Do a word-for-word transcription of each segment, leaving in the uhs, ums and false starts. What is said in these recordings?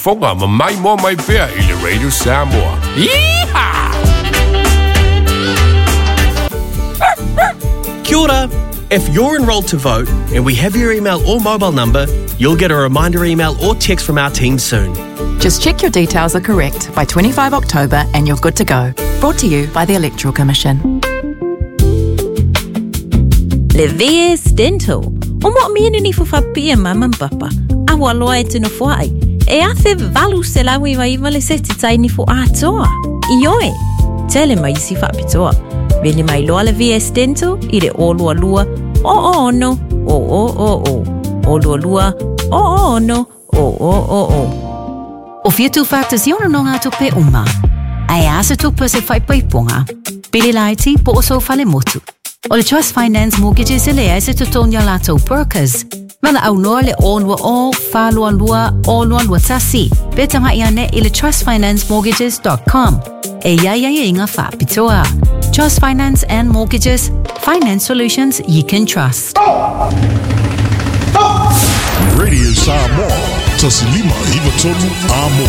Foga ma mai mo mai pea i le Radio Samoa. Yeehaw! Kia ora! If you're enrolled to vote and we have your email or mobile number, you'll get a reminder email or text from our team soon. Just check your details are correct by twenty-fifth October and you're good to go. Brought to you by the Electoral Commission. Le V S Dental. O mo mienu ni fufapia mama papa. Awa loa e tino fuai. E afe valu se lawi wa iwa le seti tai ni fu atoa. Ioe. Tele mai si fapitoa. Vele mai loa le V S Dental i le o lua lua o o ono o o o o. O lua lua o o ono o o o o. O whitu whātusi ono no ngā tupe uma. Ai asa tupe se whaipai ponga. Pili laiti po o so whale motu. O le Trust Finance Mortgages e lea se tutonia lātou brokers. Mana au noa le o lua o, wha lua lua, o lua lua tasi. Pe tanga ia ne i le trust finance mortgages dot com. E ia ia ia inga whapitoa. Trust Finance and Mortgages, finance solutions you can trust. Radio Samoa, Tasilima Ivatonu Amo.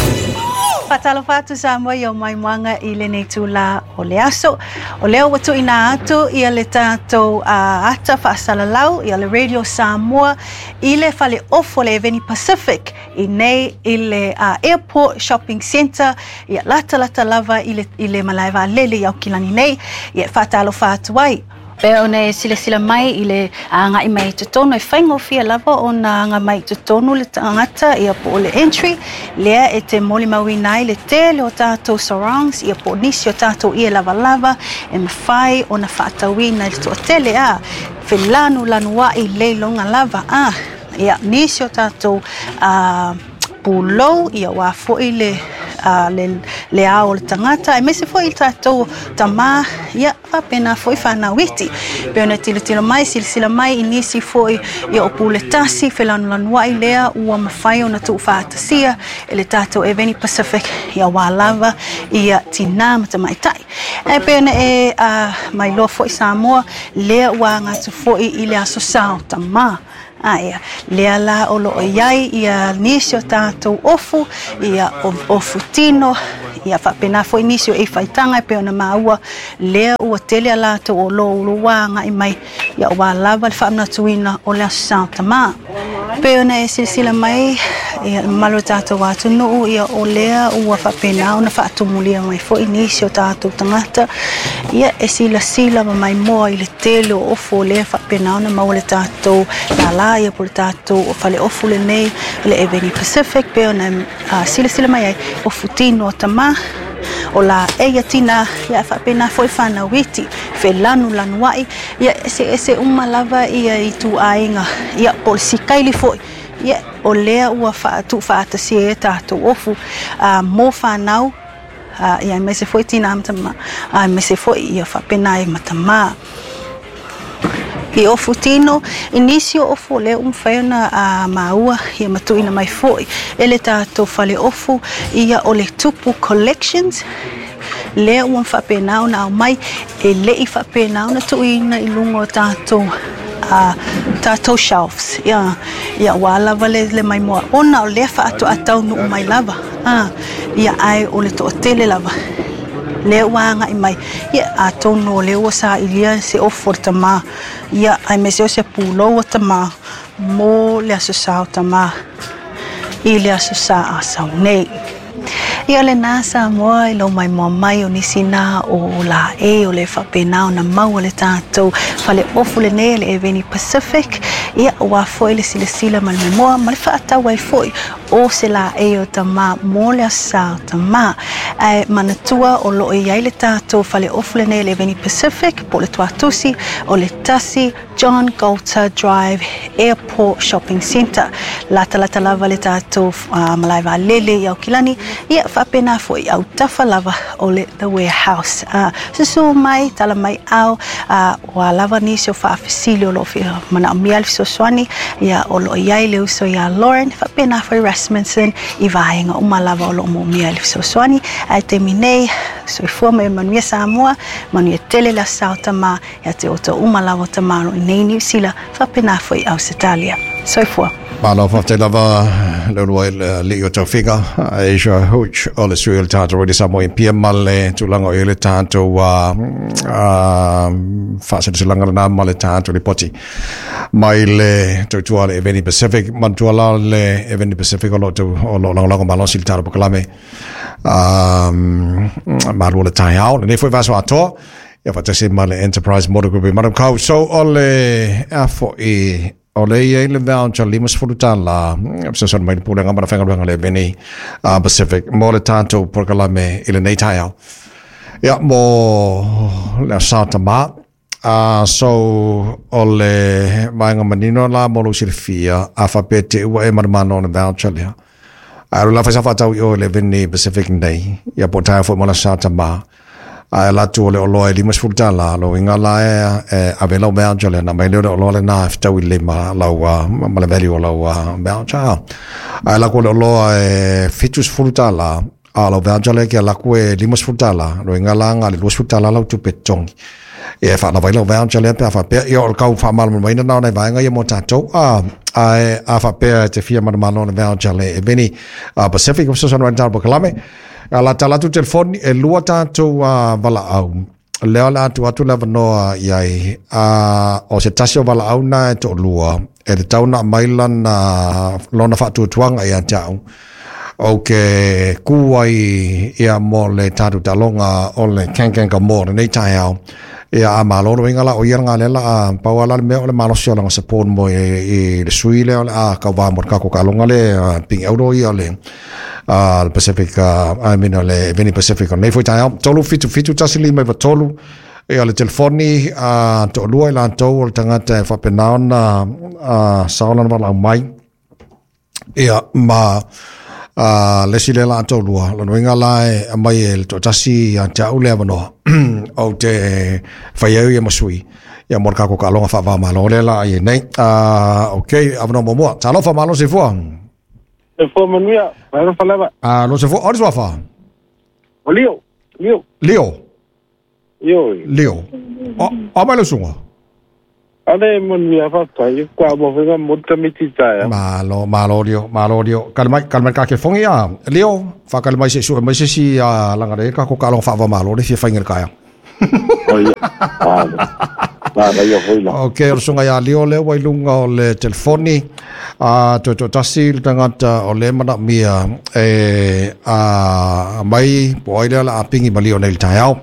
Whatalo whatu Samoa i o mai mwanga i le nei tūla o le aso. O leo watu ina atu i le tātou uh, ata whaasalalau i le Radio Samoa i le whale ofo le Eveni Pacific i nei i le uh, Airport Shopping Centre i lata lata lava i le, i le malaeva lele i aukilani nei i e whatalo whatu ai. Pea ona e silasila mai i le anga i mai totonu e whaingofia lava o na anga mai totonu le tangata ia po o le entry lea e te moli mauina ai le tele o tātou sarongs ia po nisi o tātou ia lava lava e mawhai o na whaatauina i le toatele a felanu lanu ai le longa lava a ia nisi o tātou uh, pulou ia wā foi le Uh, le, le ao le tangata e mese foi tātou tamā ia whapena foi whanauiti pe ona tilo tilo mai silasila mai i nisi foi ia o pule tasi felanulanuai lea ua mawhai ona tuu whaatasia e le tātou Eveni Pacific ia wā lava ia tina matamaitai e pe ona e uh, mai loa foi Samoa lea ua ngatu foi i le aso sao tamā. Aia, lea la o loo iai ia nisi o tātou ofu, ia ofu tino, ia whapena foi nisi o e whaitanga e pe ona maua, lea ua tele a lātou o lo ulu wā ngai mai, ia o wā lava le whaamnatuina o le aso sao tamā. Pe ona e silasila mai, ia malo tātou atunuu, ia o lea ua whapena ona whaatumulia mai foi nisi o tātou tangata, ia e silasila ma mai moa i le tele o ofu o lea whapena ona maua le tātou lala ia po le tātou o whale ofu le nei le Eveni Pacific pe ona uh, silasila mai ai ofu tino o tamā o la eia tina ia whapena foi whanauiti whelanu lanuai ia ese ese uma lava ia i tū ainga ia po le sikaili foi ia o lea ua whaatu whaatasia e tātou ofu uh, mō whanau uh, ia mese foi tina matama uh, mese foi ia whapena e matama. I ofu tino, i nisi o ofu lea umwhai ona a maua ia matuina mai foi. E le tātou whale ofu ia o le Tupu Collections. Lea ua whapena ona au mai, e le i whapena ona tuina i lunga o tātou, uh, tātou shelves. Ia, ia wā lava le, le mai moa. Ona o lea whaatu atau nuu mai lava. Ah, ia ai o le toatele lava. Lea ua anga i mai ia a tonu o lea ua sa ilia se ofu o le tamā ia ai mese o se pulou o tamā mō le aso sa o tamā i le aso sa a sau nei. Ia le nā Samoa i lau mai moa mai o nisi nā o la e o le whapena o na maua le tātou whale ofu le nei le Eveni Pacific ia wā foi le silasila ma le memoa ma le whaatau ai foi o se la e o tamā mō le aso o tamā. Ai manatua o loo i ai le tātou whale ofu le nei le Eveni Pacific po le tuatusi o le tasi John Goulter Drive Airport Shopping Centre. Lata lata lava le tātou uh, malaiva lele i aukilani ia whapena foi au tafa lava o le The Warehouse. Uh, susu mai, tala mai au, uh, wa lava nisi o whaafisili o lo whia mana o mia le fesoasoani, ia o lo iai le uso ia Lauren, whapena foi Rasmussen, i vaenga uma lava o lo mo mia le fesoasoani. Ai te minei, soifua mai manuia Samoa, manuia tele la sao tamā, ia te oto uma lava o tamā ro i nei Niu Sila, whapena foi Ausitalia. Soifua. Malo faafetai lava le ulu ai le o taufiga Asia Hooch o le sui o le tatou Radio Samoa pia ma le tulaga o i le tatou faaseleselaga lena ma le tatou lipoti mai le tautua le Eveni Pacific manatua la le Eveni Pacific o loo o loo lagolago malosi le tatou polokalame malua le taeao lenei foi vaiaso atoa ia faatasi ma le Enterprise Motor Group i Manukau. So o le a fo'i o le ia i le voucher lima sefulu tālā fesoasoani mai le pulega ma le faigaluega le Eveni Pacific mo le tatou polokalame i lenei taeao ia mo le aso Tamā. Uh, so o le vaega manino la mo lou silafia a faapea te ua e manumanu o le voucher lea ae alu la fai sa faatau i o i le Eveni Pacific nei ia po o taeao foi mo le aso Tamā ae latu o le oloa e lima sefulu tālā lo uiga la e ave lau voucher lea na mai lea o le oloa lenā e fetau i le lima lau ma le value o lau voucher ae laku o le oloa e fitu sefulu tālā a lau voucher lea ke laku e lima sefulu tālā lo uiga la ga le lua sefulu tālā lau tupe totogi e whaalawa i lau voucher lea pe a faapea ia o le kau faamalamalamaina na o nai vaega ia mo tatou a ae a faapea e te fia manumanu o le voucher le Eveni Pacific o fesoasoani mai le tatou polokalame a la tala atu telefoni e lua tatou valaau lea o le atu atu le avanoa iai a o se tasi o valaau na e to'alua e le tau na mai lana lona faatuatuaga ia te au o ke ku ai ia mo le tatou taaloga o le Kankanka mo lenei taeao ia a malo le uiga la o ia laga lea la a pau ala le mea o le malosi o laga support mo i le sui lea o le a kauvā mo le kako taaloga le pigi auro ia le le Pacific I mean o le Eveni Pacific o lenei foi taeao tolu fitu fitu tasi lima iva tolu ia le telefoni a to'alua i latou o le tagata e faapena ona sao lana valaau mai ia ma Uh, le si le la to'alua lona uiga la e aumai e le to'atasi ia te a'u le avanoa ou te fai ai ia ma sui ia mo le kako taaloga faava-o-Malo lea la ai nei. Uh, ok avanoa muamua talofa malo soifua soifua manuia alofa lava alo soifua o le suafa o Lio Lio Lio Io Lio o o mai le usuga Ale manuia faafetai kua mo faiga mo tamiti taea. Malo malo Lio malo Lio kale mai kale mai ka ke fongi a Lio whakale mai se sue mai se si a langa le ka ko ka longa whaava malo le fia whainga le kaea. Oia. La ia foi la. Ok, o le sunga ia Lio lea ua i lunga o le telefoni a toe toatasi le tagata o le manaomia e a mai po ai lea la a pingi ma Lio nei le taeao.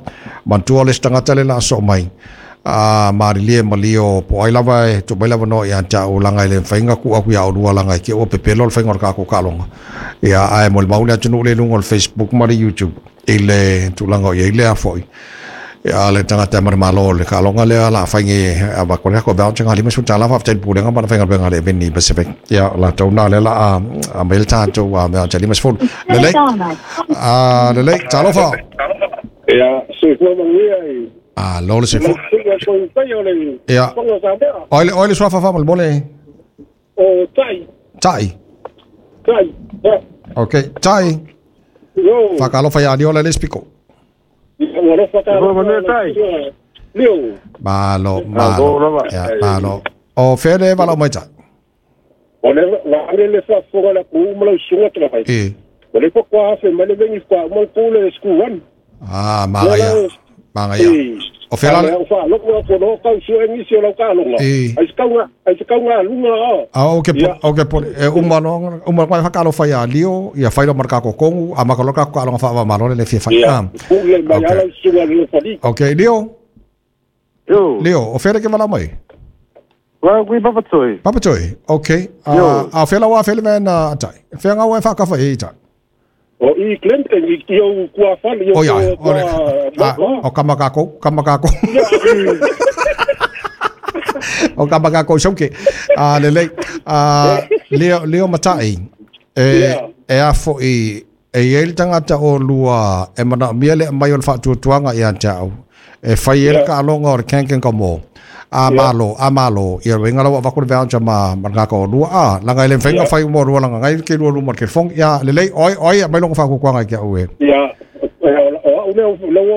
Manatua le isi tagata le la a soo mai a marilie ma Lio po ai lava e tuu mai le avanoa ia te au langa i le mafaiga tuu atu ia oulua langa i te ua pepelo le faiga o le tatou taaloga ia ae molimau le atunuu le i luga o le Facebook ma le YouTube i le tulaga o i ai lea foi ia le tagata e manumalo o le taaloga lea la faiga avatu le tatou voucher ga lima sefulu tālā faafetai i le pulega ma le faigaluega a le Eveni Pacific ia latou na lea la a aumai le tatou voucher lima sefulu lelei a lelei talofa ia soifua manuia i Alo le soifua. Ia. Oi le oi le suafa fa mo le. O Tai. Tai. Tai. Ok, Tai. Yo. Whakalofa ia Lio le le spiko. Lio. Malo, malo. Ia, malo. O fea le valaau mai Tai. O le la le le faafofoga la ku ma lau susuga tala E. O le kwa afe mai le vengi kwa ma ku le school one. Ah, magaia. Magaia. O fea la o fa loko ko no kau su engi si o lau taaloga. Ai se kaunga, ai se kaunga lunga o. Ah, o ke o ke e uma no uma mai whakalofa ia Lio, ia whailo ma ka kokongu, a makaloka ka alonga whaava malo le fia whai. Ia. Le mai ala susuga le fali. Ok, Lio. Yo. Lio, o fea le ke valaau mai? Wa kui Papatoi. Papatoi. Ok. A a fea la wa fea le mea tai. Fea ngā wa whakafa e tai. O i Clinton i i o kua whale i o ia o le o kamakako kamakako o kamakako soke a lelei a Leo Leo Matai e e a foi e i ai le tagata o lua e manaomia le aumai o le faatuatuaga ia te au e fai ai le taaloga o le Kankanka mo a malo a malo ia uiga la ua avatu le voucher ma ma le tagata o lua a laga e le mafaiga fai uma o lua laga ngai ke lua luma o le telefoni ia lelei oi oi aumai loga faakuakuaga i ke au e ia o au lea lea ua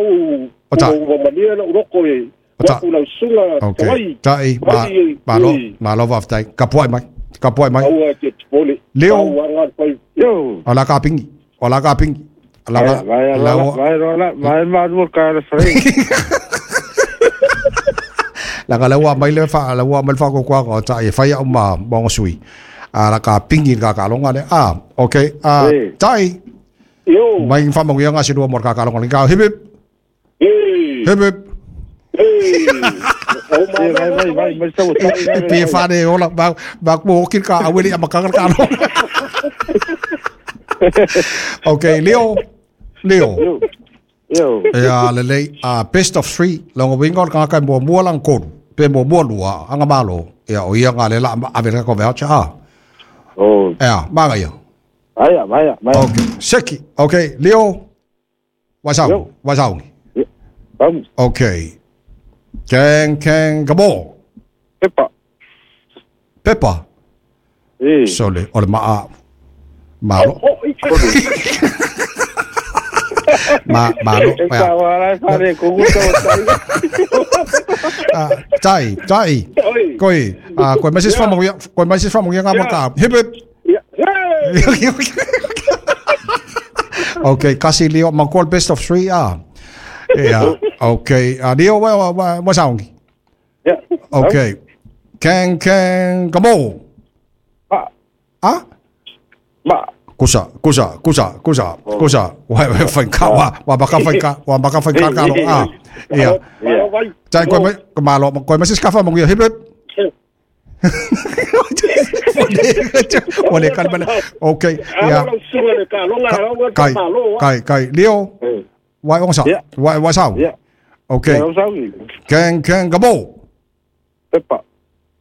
o ta ua malia lau loko e o ta lau susuga okay tai ma malo malo faafetai kapuai mai Ka pua mai. Aua te pole. Leo. Yo. Ala ka pingi. Ala ka pingi. Ala ka vai ala vai rola vai maru ka le fre. La ka lawa mai le fa lawa mai fa ko kwa ko ta e fai au ma bongo sui. Ala ka pingi ka ka longa le. Ah, okay. Ah, tai. Yo. Mai fa mo nga si mo ka ka longa ka hip hip. Hip hip. Oh my vai vai vai vai pe fa de ola ba ba mo ki ka aweli ama ka ka lo. Okay, Leo. Leo. Yo. Ya le le a best of three longo wingo ka ka mo mo lang ko pe mo mo lua anga malo ya o ia nga le la a ver ko voucher a. Oh. Ya, manga yo. Vaya, vaya, vaya. Okay, seki. Okay, Leo. What's up? What's up? Okay. Keng keng gabo. Peppa. Peppa. Eh. Sole ole ma malo. Ma malo. Ah, tai tai. Koi, ah koi message from mo koi message from mo nga ma hip hip. Okay, kasi Leo ma call best of three ah. Yeah. Okay. Uh, Leo, wa wa wa sound. Yeah. Okay. Keng keng gamo. Ma. Ah? Ma. Kusa, kusa, kusa, kusa, kusa. Wa wa fai ka wa wa ba ka fai ka wa ba ka fai ka ka lo ah. Yeah. Tai koi ma ma lo koi ma sis ka fa mo hip hip. Ole kalma. Okay. Yeah. Kai kai kai Leo. Wai ong sa. Wai wai sao. Okay. Keng keng gabo. Peppa.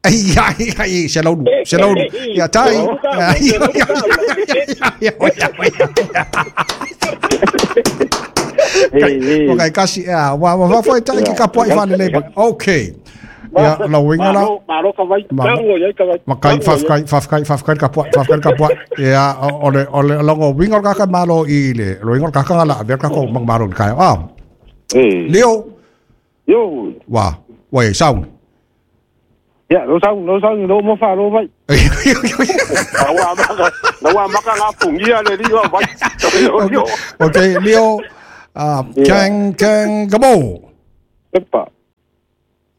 Ai ai ai se lo se lo ya tai. Okay, kasi ya wa wa foi tai ki ka poi fa le. Okay. Ya lo winga la. Malo ka vai. Ma kai fa kai fa kai fa kai ka poi fa kai ka poi. Ya ole ole longo winga ka ka malo i le. Lo winga ka ka la ver ka ko mang malo kai. Ah. Leo. Yo. Wa, wa sao. Ya, lo sao, lo sao lo mo fa lo vai. Wa ma ka, wa ma ka la pungia le li wa vai. Okay, Leo. Ah, keng keng gabo. Peppa.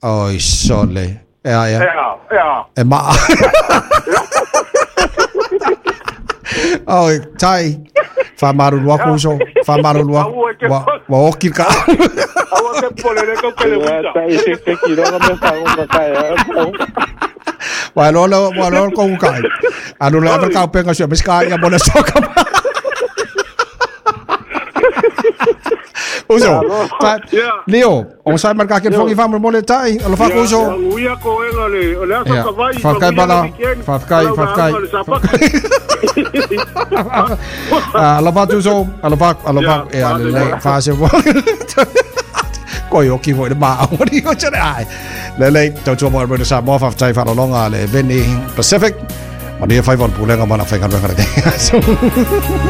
Oi, sole. Ya, ya. Ya, ya. Ma. Oi, tai. Fa maru lua kuso, fa maru lua. Wa wa oki ka. Awa ke pole le ko le buta. Tai se ke ki ro me fa o ka ya. Wa lo lo wa lo ko kai. Anu la ka penga se mes ka ya bona soka. Uso. Leo, on sai marka ke fongi fa mo le tai, lo fa uso. Uia ko enga le, le asa ka vai. Fa kai bala, fa kai, fa kai. Ah, lo fa uso, lo fa, lo fa e le fa se vo. Koi oki voi ma o ni o chare ai. Le le tau tu mo mo sa mo fa tai fa longa le Veni Pacific. Ma ni fa von pulenga mana fa ka.